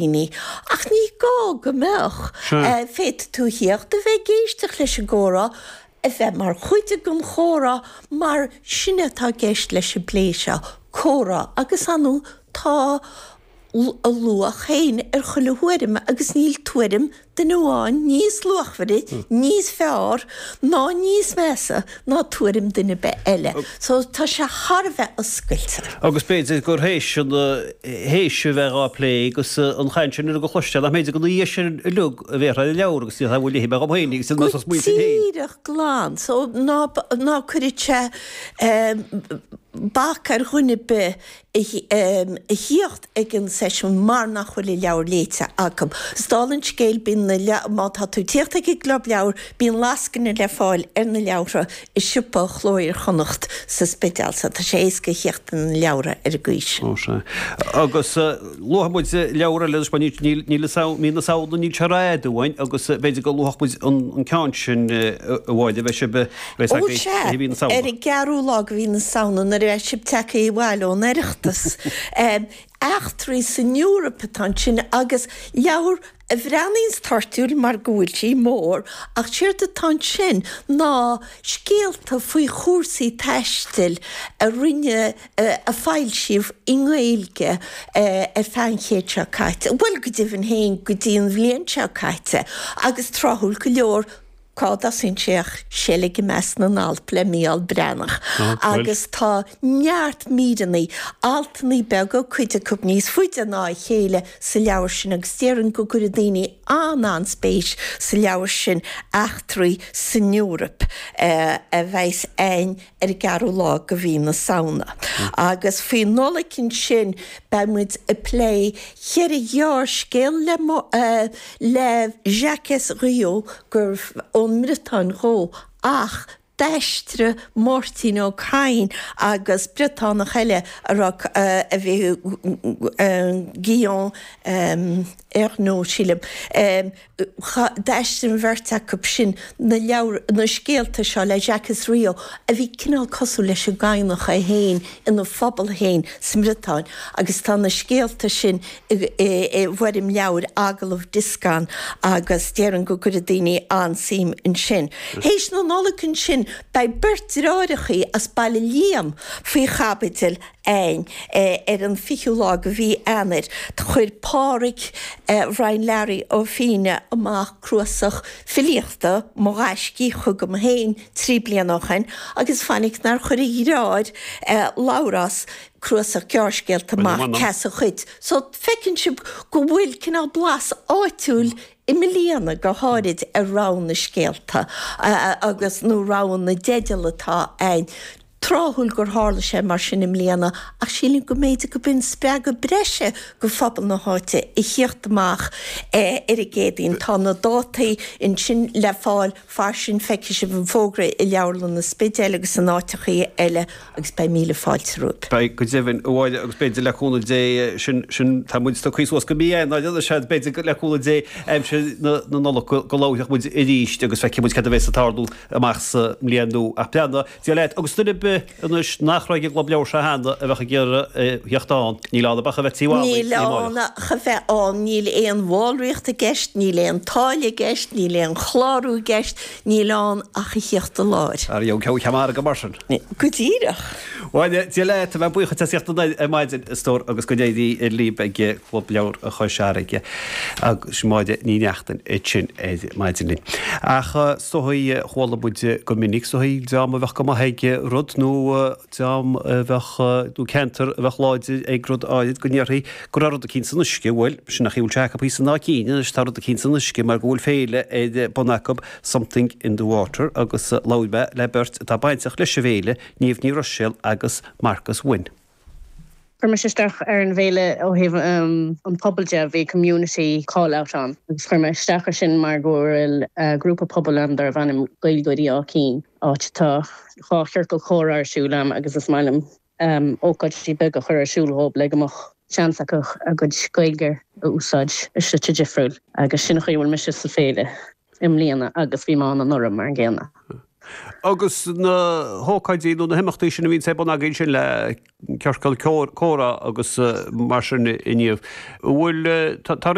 Ach ní gá go mbeadh. Féadfaidh tú a thíocht, a bheith ag éisteacht leis an gcomhrá, a bheith mar chuid den chomhrá, mar sin atá i gceist leis an bplé seo, comhrá. Agus ar ndóigh tá a luach féin ar chuile thuairim agus níl tuairim duine amháin níos luachmhaire, níos fearr ná níos measa ná tuairim duine ar bith eile. So tá sé thar a bheith oscailte. Agus b'fhéidir gur théis an, théis a bheith dhá plé agus an chaint sin uilig a chloisteáil, nach mb'fhéidir go ina dhiaidh sin uilig a bhéarfá ar an leabhar agus ní bhfuil léithe mé dhom féin agus Go díreach glan. So ná, ná cuireadh sé bac ar dhuine ar bith a thíocht ag an seisiún mar nach bhfuil an leabhar léite acu. 'S dála an scéil, bíonn na leabhair, má tá tú ag tíocht ag an gClub Leabhar, bíonn lascaine le fáil ar na leabhartha i siopa Chló Iar-Chonnacht sa Spidéal, so tá sé éasca a thíocht ar na leabhartha ar an gcaoi sin. Ó sea. Agus luafaidh muid leabhar eile anois, mar níl, níl a fhios agam, mí na Samhna, níl sé rófhada uainn agus b'fhéidir go luafadh muid an ceann sin, a Mháire, beidh sibh, Ó sea, ar an gceathrú lá de mhí na Samhna, nuair a bheidh sibh tagtha abhaile ón Oireachtas. Eachtraí san Eoraip atá ansin agus leabhar a bhreathnaíonns toirtiúil mar go bhfuil sí mór, ach séard atá ansin ná scéalta faoi chúrsaí taistil a rinne, a foilsíodh i nGaeilge ar feadh an chéid seo caite, bhuel go deimhin féin go dtí an bhliain seo caite, agus tráthúil go leor, Cá dtosaíonn sé ach Seilg i measc na nAlp le Mícheál Breathnach agus tá neart míreanna, altanna beaga, cuid acu níos faide ná a chéile sa leabhar sin agus déarfainn go gcuirfidh daoine an-an-spéis sa leabhar sin, Eachtraí san Eoraip, a bheas a'inn ar an gceathrú lá de mhí na Samhna. Agus faoi Nollaig ansin beidh muid ag plé cheithre ghearrscéal le le Jakez Riou gurbh ón mBriotáin dhó ach d'aistrigh Máirtín Ó Cadhain agus Briotánach eile a raibh a bhí Guillaume Ernault sílim D'aistrigh an bheirt acu sin na leabhair, na scéalta seo le Jakez Riou, a bhí cineál cosúil leis an gCadhnach é féin ina phobal féin sa mBriotáin, agus tá na scéalta sin i bhfoirm leabhair, agallamh dioscán, agus déarfainn go gcuirfidh daoine an-suim ansin. Théis na Nollag ansin, beidh beirt deartháireachaí as Baile Liam faoi chaibidil a'inn ar an 20ú lá de mhí Eanáir. Chuir Pádhraic Bhrian Learaí Ó Fíne amach cnuasach filíochta, Mo Ghaiscí, chugam féin 3 bliana ó shoin agus fainic nár chuir a dhreáir, Labhrás, cnuasach gearrscéalta amach, Ceasa Dhuit. So feiceann sibh go bhfuil cineál blas áitiúil i mbliana go háirid ar rogha na scéalta agus, nó rogha na dteideal atá a'inn. Tráthúil gur tharla sé mar sin i mbliana ach sílim go mb'fhéidir go b'in spreagadh breise go phobal na háite a thíocht amach ar an gCéadaoin. Tá na dátaí ansin le fáil fairsing, feicfidh sibh an fógra i Leabharlann an Spidéil agus in áiteachaí eile agus beidh míle fáilte romhaibh. Beidh, go deimhin, a Mháire, agus b'fhéidir le cúnamh Dé, sin, sin, tá muid tugtha suas go mí Eanáir anois, b'fhéidir le cúnamh Dé aimsir na Nollag go labharfaidh muid arís agus feicfidh muid cad a bheas ag tarlú amach sa mbliain nua. Ach breathnaigh, Dia leat, agus duine ar bith anois nach raibh ag an gClub Leabhar seo cheana a bheadh ag iarraidh theacht ann, níl ann ach a bheith taobh amuigh, Níl ann ach a bheith ann, níl aon bhallraíocht i gceist, níl aon táille i gceist, níl aon chlárú i gceist, níl ann ach a thíocht i láthair. Ar dheabhail ceann margadh mar sin. Go díreach. Bhuel, Dia leat, a bheith buíoch as theacht ar maidin, a stór, agus go n-éirí libh ag Club Leabhar Chois Fharraige agus Máire Ní Neachtain ansin ar maidin linn. Ach is dóigh, chuala muid go minic, is dóigh, dream a bheadh go maith ag rud nó dream a bheadh, nó ceantar a bheadh láidir ag rud áirid go ndéarfaí go raibh rud eicínt san uisce. Bhuel, sin an chaoi a bhfuil sé acu thíos in Áth Cinn anois, tá rud eicínt san uisce mar go bhfuil féile ar bun acu, Something in the Water, agus labhair mé le beirt atá bainteach leis an bhféile, Niamh Ní Ruiséil agus Marcus Wynne. Chuir mise isteach ar an bhféile ó thaobh an pobail de, bhí community call out ann agus chuir mé isteach ar sin mar go bhfuil grúpa pobail ann darbh ainm Gaeilgeoirí Áth Cinn, áit atá dhá chiorcal comhrá ar siúl a'm agus is maith liom ócáidí beaga a chur ar siúl dhóibh le go mbeadh seans acu a gcuid Gaeilge a úsáid i slite difriúil agus sin an chaoi a bhfuil mise sa féile i mbliana agus bhí mé ann anuraidh mar an gcéanna. Agus na hócáidí nó na himeachtaí sin a bhíonns ar bun agaibh ansin le ciorcal comhrá agus mar sin inniu, an bhfuil, tá.